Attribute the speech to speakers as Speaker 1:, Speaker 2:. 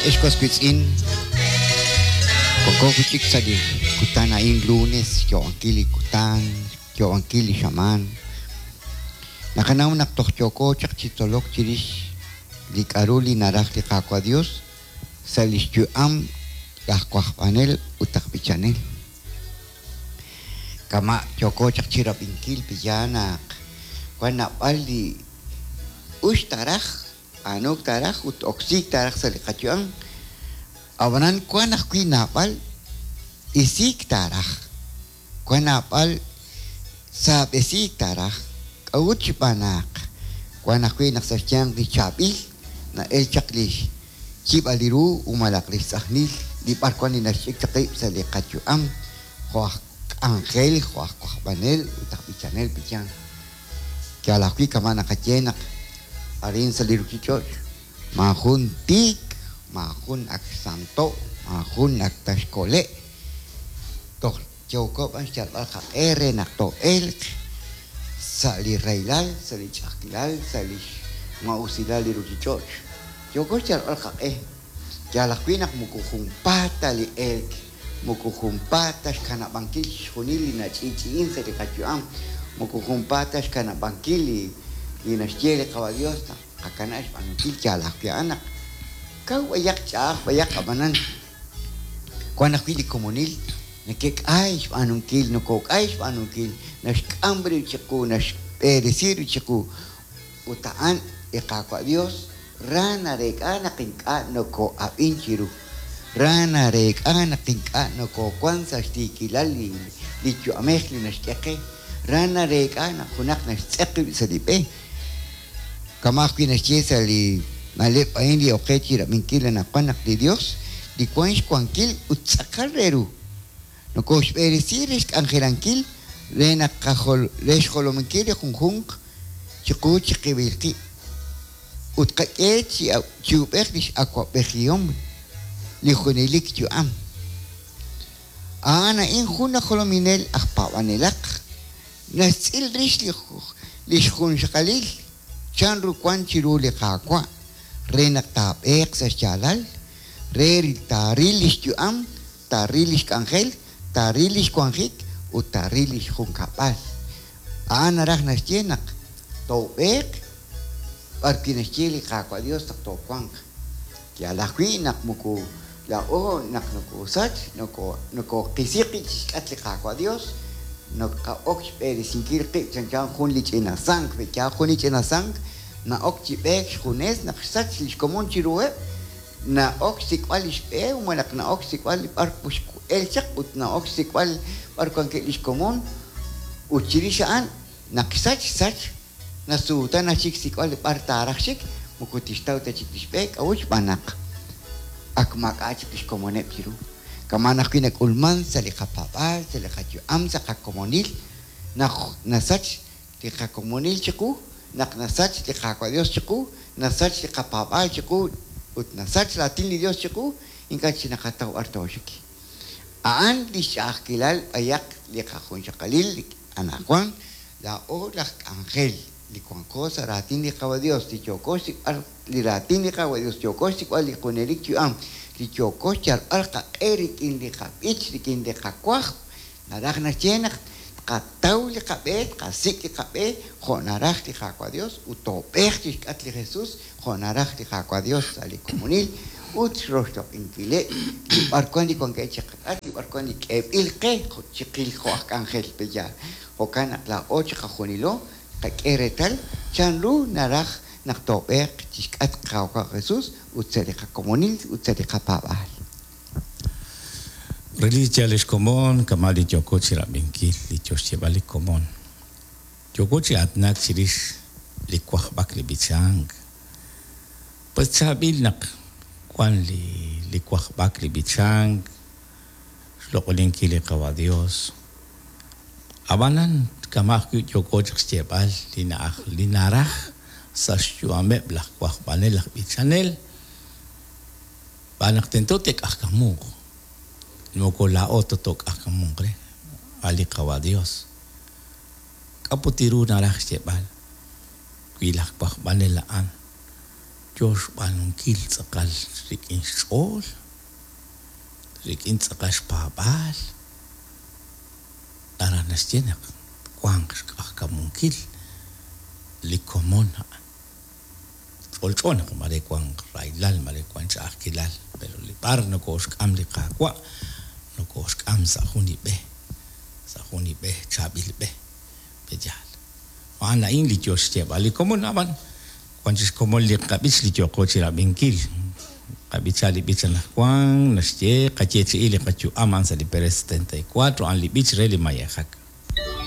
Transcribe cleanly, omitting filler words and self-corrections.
Speaker 1: Ex was wiitz'in, wanko wi' chik sa' li kutan a'in lunes, xyo'onkil li kutan, xyo'onkil li xamaan. Naqanaw naq toj yooko chaq chi tzolok chirix li k'a'ru li naraj li Qaawa' Dios sa' lix yu'am laj wajb'anel ut aj b'ichanel. Kama' yooko chaq chirab'inkil pe'yaal naq wan naab'al li ux taaraj, b'aanuuk taaraj ut oksiik taaraj sa' li qayu'am, ab'anan wan ajwi' naab'al isiik taaraj, wan naab'al saab'esiik taaraj. K'a'ut xb'aan naq wan ajwi' naq sa' xyanq li chaab'il na'el chaq li xyib'al li ru u malaq li xtz'ajnil li b'arwan li naxch'ik chaq rib' sa' li qayu'am jo' aj k'anjel, jo' aj wajb'anel ut aj b'ichanel b'ichan. Yaal ajwi' kama' naqaye naq arin sa' li ruchich'och' maajun tiik, maajun ak xsanto', maajun ak ta xkole'. Toj yooko b'an xyalb'al qaq'e re naq too'elq sa' li rahilal, sa' li ch'a'ajkilal, sa' li xmaa'usilal li ruchich'och'. Yooko xyalb'al qaq'e. Yaal ajwi' naq moko junpaat ta li elk, moko junpaat ta xkanab'ankil chixjunil li nach'i'ch'i'in sa' li qayu'am, moko junpaat ta xkanab'ankil li li naxye li Qawa' Dios naq tqakanab' xb'aanunkil. Yaal ajwi' a'an naq kaw b'ayaq, ch'a'aj b'ayaq, ab'anan wan ajwi' li komonil neke'k'ay xb'aanunkil, nokok'ay xb'aanunkil, naxk'am rib' chiqu, naxb'eresi rib' chiqu, ut a'an li Qaawa' Dios Ra nareek'a naq ink'a' nokoo'ab'in chiru. Ra nareek'a naq ink'a' nokoowank sa' xtiikilal li yu'amej li naxk'e qe. Ra nareek'a naq junaq naxtz'eq rib' sa' li b'e. Kama' ajwi' naxye sa' li na'leb' a'in li ok qe chi rab'inkil anaqwan naq li Yos, li wank xwankil ut tz'aqal re ru, nokooxb'eresi re xk'anjelankil re naq re xjolominkil li junjunq chiqu chiqib'il qib' ut qak'e chi ub'ej li x'awab'ejihom li junelik yu'am. A'an a'in jun aj jolominel aj paab'anelaq, naxtz'il rix li xjunxaqalil chanru wank chiru li Qaawa' re naq taab'eeq sa' xyaalal, re taaril li xyu'am, taaril li xk'anjel, taaril li xwanjik ut taaril li xjunkab'al. A'an naraj naxye naq toob'eeq b'arwi' naxye li Qaawa' Dios naq toowanq. Yaal ajwi' naq moko laa'o naq nokoosach, nokoqisi qib' chixk'atq li Qaawa' Dios, naqa'ok xb'eresinkil qib' chanchan jun li ch'ina sank. Pe'yaal jun li ch'ina sank na'ok chi b'eek xjunes naq xsach li xkomon chiruheb'? Na'ok xsik'b'al li xb'e malaj na'ok xsik'b'al b'ar x'el chaq ut na'ok xsik'b'al b'ar wankeb' li xkomon ut chirix a'an naq xsach, xsach, nasuutan chik xsik'b'al b'ar taaraj xik, moko tixtaw ta chik li xb'e, k'a'ut? Xb'aan naq ak maak'a' chik li xkomoneb' chiru. Kama'an ajwi' nak'ulman sa' li qapaab'aal, sa' li qayu'am, sa' qakomonil, naq nasach li qakomonil chiqu, naq nasach li Qaawa' Dios chiqu, nasach li qapaab'aal chiqu, ut nasach raatin li Dios chiqu, ink'a' chik naqataw b'ar tooxik. A'an lix ch'a'ajkilal b'ayaq li qajunxaqalil anajwan, laa'o laj k'anjel li wanko sa' raatin li Qaawa' Dios, li yooko xsik'b'al li raatin li Qaawa' Dios, yooko xsik'b'al li junelik yu'am, li yooko xyalb'al qaq'e rik'in li qab'ich, rik'in li qawajb', Naraj naxye naq tqataw li qab'e, tqasik' li qab'e jo' naraj li Qaawa' Dios ut toob'eeq chixk'atq li Jesus jo' naraj li Qaawa' Dios sa' li komonil ut xroxloq'inkileb' li b'arwan li wankeb' chiqak'atq, li b'arwan li k'eeb'il qe chiqil jo' aj k'anjel pe'yaal. Jo'kan naq laa'o chiqajunilo tqak'e reetal chanru naraj naq toob'eeq chixk'atq Qaawa' Jesus ut sa' li qakomonil ut sa' li qapaab'aal.
Speaker 2: Relik chi yaal lix komon, kama' li yooko chirab'inkil li yoo xyeeb'al li komon. Yooko chi aatinak chirix li wajb'ak li b'ichank. Pues chaab'il naq wan li li wajb'ak li b'ichank, xloq'oninkil li Qawa' Dios. A'b'anan kama' ajwi' yooko chaq xyeeb'al li na'aj li naraj sa' xyu'ameb' laj wajb'anel laj b'ichanel, Xb'aan naq tento te'k'ajkamunq, moko laa'o ta took'ajkamunq re, a' li Qawa' Yos. K'a' put ru naraj xyeeb'al wi laj wajb'anel a'an yoo xb'aanunkil tz'aqal rik'in xch'ool, rik'in tz'aqal xpaab'aal, naraj naxye naq twanq xq'ajkamunkil li komon a'an. Ch'olch'o naq mare wanq rahilal, mare wank ch'a'ajkilal, pero li b'ar nokooxk'am li Qaawa', nokooxk'am sa' jun li b'e, sa' jun li b'e, chaab'il b'e, pe'yaal? A'an a'in li yoo xyeeb'al li komon, ab'an wan chik xkomon li qab'ich li yooqo chirab'inkil. Qab'icha li b'ich anaqwan, naxye, Qayeechi'i li qayu'am a'an sa' li perel 74, a'an li b'ich re li mayejak.